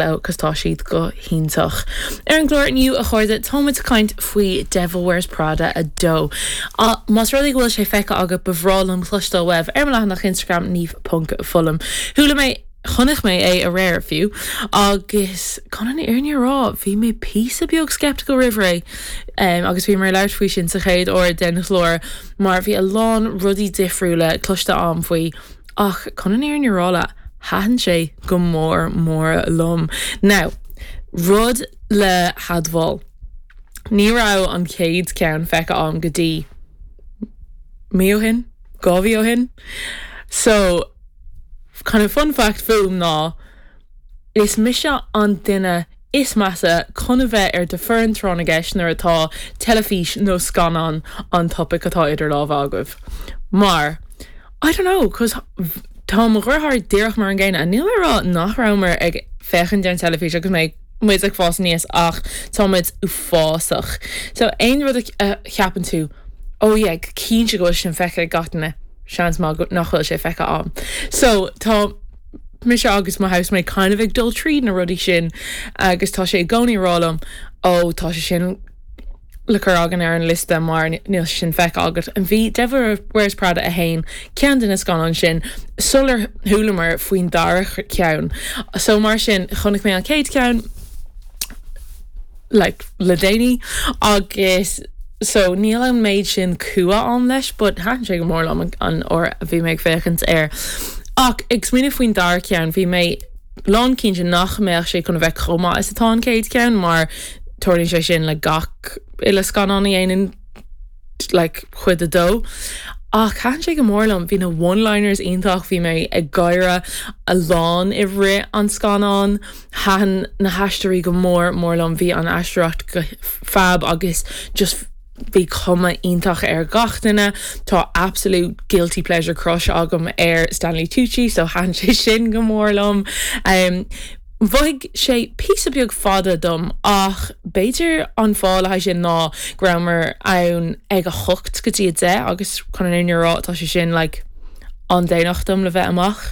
Leo cos tá siad go hiontach. Ar an gclár inniu, a chairde, táimid ag caint faoi Devil Wears Prada 2. Más rud é go bhfuil sé feicthe agat, ba bhreá liom cloisteáil uaibh ar mo leathanach Instagram niamh ponc fullam. Chuala mé, chonaic mé é aréir fiú, agus chun an fhírinne a rá, bhí mé píosa beag skeptical roimh ré, agus bhíomar ag labhairt faoi sin sa chéad uair den chlár, mar bhí a lán rudaí difriúla cloiste a'm faoi. Ach chun an fhírinne a rá leat, thaitin sé go mór mór liom. Now, rud le hadmháil, ní raibh an chéad ceann feicthe a'm go dtí mí ó shin, 2 mhí ó shin. So, kind of fun fact fúm ná, is mise an duine is measa chun a bheith ar do foireann tráth na gceist nuair atá teilifís nó scannán an topaic atá idir lámha agaibh. Mar, I don't know, cos tá mo dheartháir díreach mar an gcéanna. Níl mé ag rá nach rabhamar ag féachaint ar an teilifís agus mé muid ag fás aníos ach tá muid uafásach. So aon rud a cheapann tú, oh yeah, cinnte go bhfuil sin feicthe ag gach duine, seans maith nach bhfuil sé feicthe a'm. So tá. mise agus mo housemate kind of ag dul tríd na rudaí sin agus tá sé i gcónaí ag rá liom ó tá sé sin le cur againn ar an liosta mar níl sé sin feicthe agat. Bhí Devil Wears Prada 1 ceann de na scannáin sin sular chualamar faoin dara ceann. So mar sin chonaic mé an chéad ceann like le déanaí agus so níl an méid sin cumha a'm leis but thaitin sé go mór liom an uair a bhí mé ag féachaint air. Ach ag smaoineamh faoin dara ceann bhí mé lán cinnte nach mbeadh sé chun a bheith chomh maith is atá an chéad ceann mar tarlaíonn sé sin le gach uile scannán a dhéanann like cuid a dó. Ach thaitin sé go mór liom, bhí na one-liners iontach, bhí mé ag gáire a lán i rith an scannáin, thaitin na haisteoirí go mór mór liom, bhí an aisteoireacht go fab agus just bhí cuma iontach ar gach duine. Tá absolute guilty pleasure crush agam ar Stanley Tucci so thaitin sé sin go mór liom. Um, Mhothaigh sé píosa beag fada dom ach b'fhéidir an fáth le haghaidh sin ná go rabhamar ann ag a hocht go dtí a deich agus chun an fhírinne a rá tá sé sin like an-déanach dom le bheith amach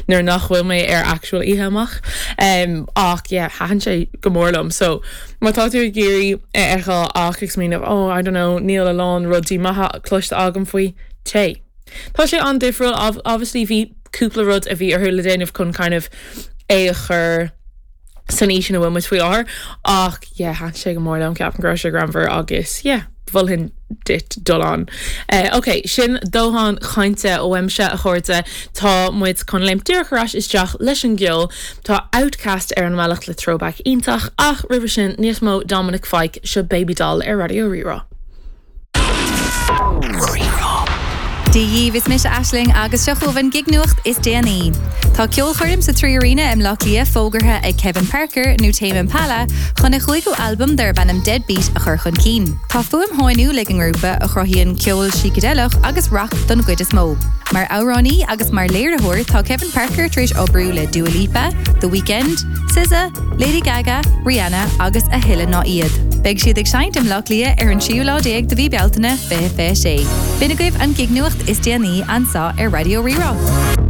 nuair nach bhfuil mé ar actual oíche amach. Um, ach yeah, thaitin sé go mór liom. So má tá tú ag iarraidh é a fheiceáil ach ag smaoineamh oh I don't know níl a lán rudaí maithe cloiste agam faoi, téigh. Tá sé an-difriúil, obviously bhí cúpla rud a bhí orthu le déanamh chun kind of é a chur san aois ina bhfuil muid faoi láthair ach yeah thaitin sé go mór liom, ceapaim go raibh sé greannmhar agus yeah mholfainn duit dul ann. Eh, ok, sin dóthain cainte uaimse a chairde, tá muid chun léimt díreach ar ais isteach leis an gceol. Tá Outkast ar an mbealach le throwback iontach ach roimhe sin níos mó Dominic Fike, seo Baby Doll ar Raidió Rí-Rá. Dia dhaoibh, is mise Aisling agus seo chugaibh an gig-nuacht is déanaí. Tá ceolchoirm sa 3Arena i mBleá Cliath fógartha ag Kevin Parker, nó Tame Impala, chun a chúigiú albam darb ainm Deadbeat a chur chun cinn. Tá fuaim sháiniúil ag an ngrúpa, a chruthaíonn ceol sícideileach agus rac don gcuid is mó. Mar amhránaí agus mar léiritheoir, tá Kevin Parker tar éis oibriú le Dua Lipa, The Weeknd, SZA, Lady Gaga, Rihanna agus a thuilleadh ná iad. Beidh siad ag seinnt i mBleá Cliath ar an tríú lá déag de mhí Bealtaine 2026. B'in agaibh an gig-nuacht is déanaí anseo ar Raidió Rí-Rá.